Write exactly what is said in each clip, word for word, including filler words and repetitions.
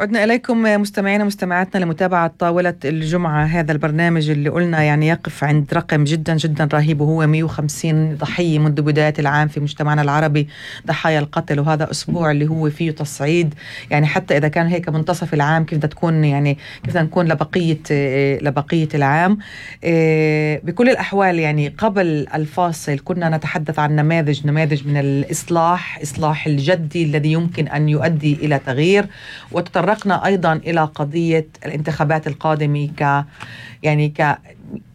عدنا إليكم مستمعينا مستمعاتنا لمتابعة طاولة الجمعة، هذا البرنامج اللي قلنا يعني يقف عند رقم جدا جدا رهيب، وهو مئة وخمسين ضحية منذ بداية العام في مجتمعنا العربي، ضحايا القتل. وهذا أسبوع اللي هو فيه تصعيد، يعني حتى إذا كان هيك منتصف العام كيف بدها تكون، يعني كيف بدها نكون لبقية لبقية العام. بكل الأحوال يعني قبل الفاصل كنا نتحدث عن نماذج نماذج من الإصلاح، إصلاح الجدي الذي يمكن أن يؤدي إلى تغيير، وتطرقنا أيضا إلى قضية الانتخابات القادمة ك يعني ك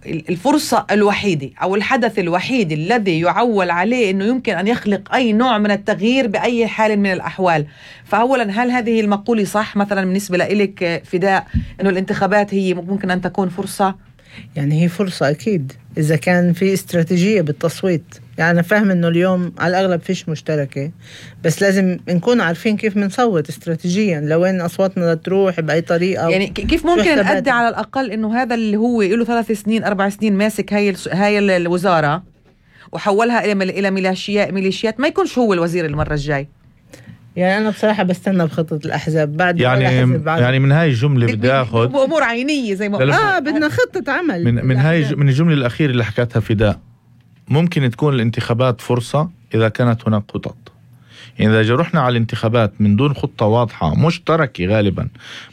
الفرصة الوحيدة أو الحدث الوحيد الذي يعول عليه أنه يمكن أن يخلق أي نوع من التغيير بأي حال من الأحوال. فأولا، هل هذه المقولة صح مثلا بالنسبة لك فداء، أنه الانتخابات هي ممكن أن تكون فرصة؟ يعني هي فرصة أكيد إذا كان في استراتيجية بالتصويت. يعني أنا فاهم إنه اليوم على الأغلب فيش مشتركة، بس لازم نكون عارفين كيف منصوت استراتيجيا، لوين أصواتنا تروح بأي طريقة، يعني كيف ممكن نأدي على الأقل إنه هذا اللي هو له ثلاث سنين أربع سنين ماسك هاي هاي الوزارة وحولها إلى إلى ميليشيات ميليشيات ما يكونش هو الوزير المرة الجاي. يعني أنا بصراحة بستنى بخطة الأحزاب بعد يعني يعني من هاي الجملة بدي أخذ بأمور عينية زي ما آه بدنا خطة عمل من من هاي من الجملة الأخيرة اللي حكتها فداء. ممكن تكون الانتخابات فرصة إذا كانت هناك خطط. يعني إذا رحنا على الانتخابات من دون خطة واضحة مشتركة، غالبا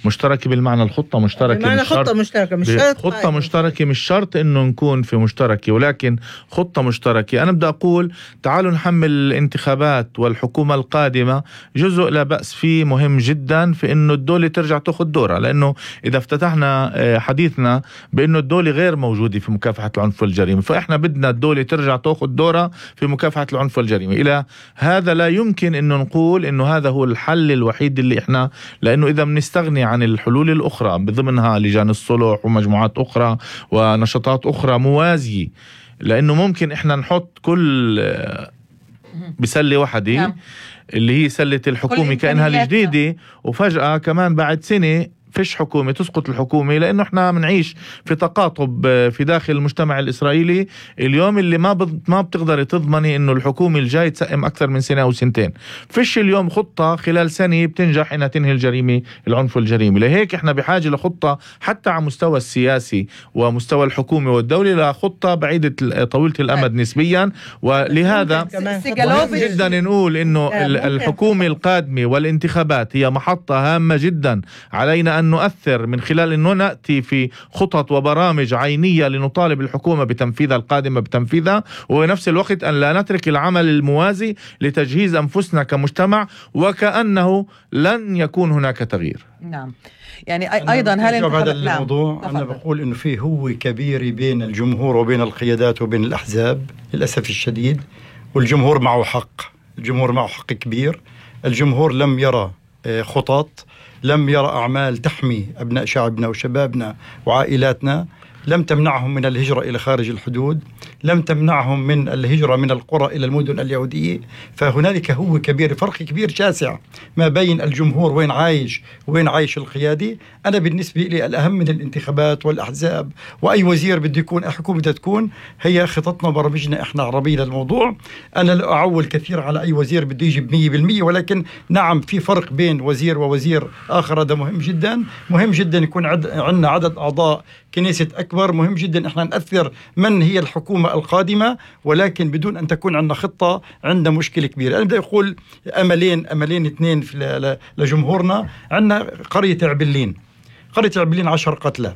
مشتركة بالمعنى الخطة مشتركة، بالمعنى خطة مشتركة مش شرط خطة مشتركة مش شرط إنه نكون في مشتركة، ولكن خطة مشتركة. أنا بدي أقول تعالوا نحمل الانتخابات والحكومة القادمة جزء لا بأس فيه مهم جدا في إنه الدولة ترجع تأخذ دورها، لأنه إذا افتتحنا حديثنا بإنه الدولة غير موجودة في مكافحة العنف والجريمة، فإحنا بدنا الدولة ترجع تأخذ دورها في مكافحة العنف والجريمة. إلى هذا لا يمكن إنه نقول إنه هذا هو الحل الوحيد اللي إحنا، لأنه إذا بنستغني عن الحلول الأخرى بضمنها لجان الصلح ومجموعات أخرى ونشاطات أخرى موازية، لأنه ممكن إحنا نحط كل بسلة واحدة اللي هي سلة الحكومة كأنها الجديدة، وفجأة كمان بعد سنة فيش حكومة تسقط الحكومة، لأنه احنا منعيش في تقاطب في داخل المجتمع الإسرائيلي اليوم اللي ما ما بتقدر تضمني إنه الحكومة الجاي تسقم أكثر من سنة أو سنتين. فيش اليوم خطة خلال سنة بتنجح إنها تنهي الجريمة العنف والجريمة. لهيك احنا بحاجة لخطة حتى على مستوى السياسي ومستوى الحكومة والدولة، لخطة بعيدة طويلة الأمد نسبيا. ولهذا جدا نقول إنه الحكومة القادمة والانتخابات هي محطة هامة جدا علينا أن نؤثر من خلال أنه نأتي في خطط وبرامج عينية لنطالب الحكومة بتنفيذها القادمة بتنفيذها، وبنفس الوقت أن لا نترك العمل الموازي لتجهيز أنفسنا كمجتمع وكأنه لن يكون هناك تغيير. نعم، يعني أيضا هل هذا الموضوع نعم. أنا بقول إنه فيه هو كبير بين الجمهور وبين القيادات وبين الأحزاب للأسف الشديد، والجمهور معه حق، الجمهور معه حق كبير. الجمهور لم يرى خطط، لم يرى أعمال تحمي أبناء شعبنا وشبابنا وعائلاتنا، لم تمنعهم من الهجرة إلى خارج الحدود، لم تمنعهم من الهجرة من القرى إلى المدن اليهودية. فهنالك هو كبير، فرق كبير شاسع ما بين الجمهور وين عايش وين عايش القيادي. أنا بالنسبة لي الأهم من الانتخابات والأحزاب وأي وزير بده يكون، أي حكومة بدها تكون، هي خططنا وبرامجنا إحنا عربية للموضوع. أنا لا أعول كثير على أي وزير بده يجيب مية بالمية، ولكن نعم في فرق بين وزير ووزير آخر، هذا مهم جدا. مهم جدا يكون عد... عندنا عدد أعضاء كنيسة أكبر، مهم جدا إحنا نأثر من هي الحكومة القادمة، ولكن بدون أن تكون عندنا خطة عندنا مشكلة كبيرة. أنا بدي أقول أملين أملين اثنين في لجمهورنا. عندنا قرية عبلين، قرية عبلين عشر قتلى.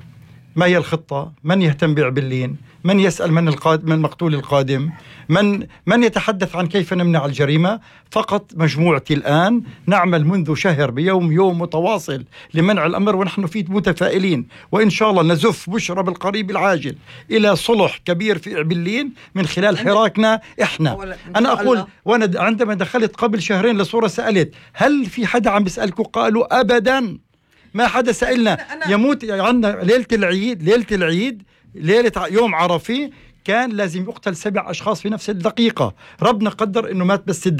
ما هي الخطة؟ من يهتم بعبلين؟ من يسأل من القادم، من مقتول القادم؟ من من يتحدث عن كيف نمنع الجريمة؟ فقط مجموعتي الآن نعمل منذ شهر بيوم يوم متواصل لمنع الأمر، ونحن فيه متفائلين، وإن شاء الله نزف بشرى بالقريب العاجل إلى صلح كبير في عبلين من خلال حراكنا إحنا. أنا أقول، وأنا عندما دخلت قبل شهرين لصورة سألت هل في حدا عم بيسألكم؟ قالوا أبدا ما حدا سألنا. يموت عندنا ليلة العيد، ليلة العيد ليلة يوم عرفي كان لازم يقتل سبع أشخاص في نفس الدقيقة. ربنا قدر إنه مات بس